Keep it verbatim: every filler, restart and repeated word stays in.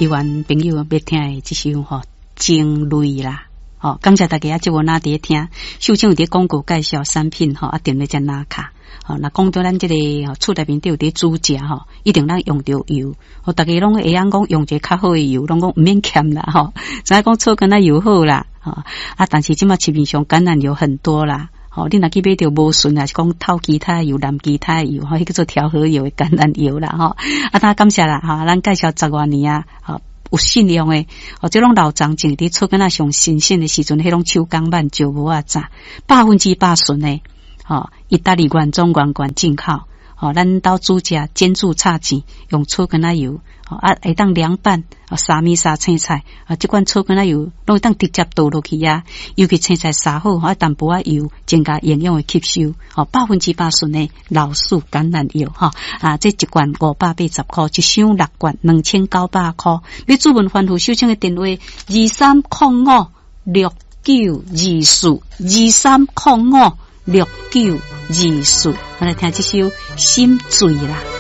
希望朋友欲聽的這首吼情淚啦。吼，感謝大家這無哪佇咧聽，秀清有佇廣告介紹產品吼，啊，踮咧遮拿卡。吼，若講著咱這個厝內面都有佇煮食吼，一定咱用著油。吼，逐家攏會曉講用一個較好的油，攏講毋免儉啦吼。知影講草根仔油好啦，吼啊，但是這馬市面上橄欖油很多啦。吼，你若去買著無純，還是講透其他油、淋其他油，吼，彼叫做調和油的橄欖油啦，吼。啊，當感謝啦，吼，咱介紹十外年啊，吼。有信用的，哦，這攏老欉種佇草根仔上新鮮的時陣，彼攏手工挽石磨仔榨，百分之百純的，吼，意大利原裝原罐進口，吼，咱兜煮食煎煮炒煎，用草根仔油，啊，會當涼拌，沙米沙青菜，啊，這款草根仔油攏會當直接倒落去啊，尤其青菜沙好，啊，淡薄仔油增加營養的吸收，吼，百分之百純的老樹橄欖油，吼，啊，這一罐五百八十箍，一箱六罐兩千九百箍。欲諮問番號秀清的電話二三空五六九二四二三空五六九二四，我來聽這首心醉啦。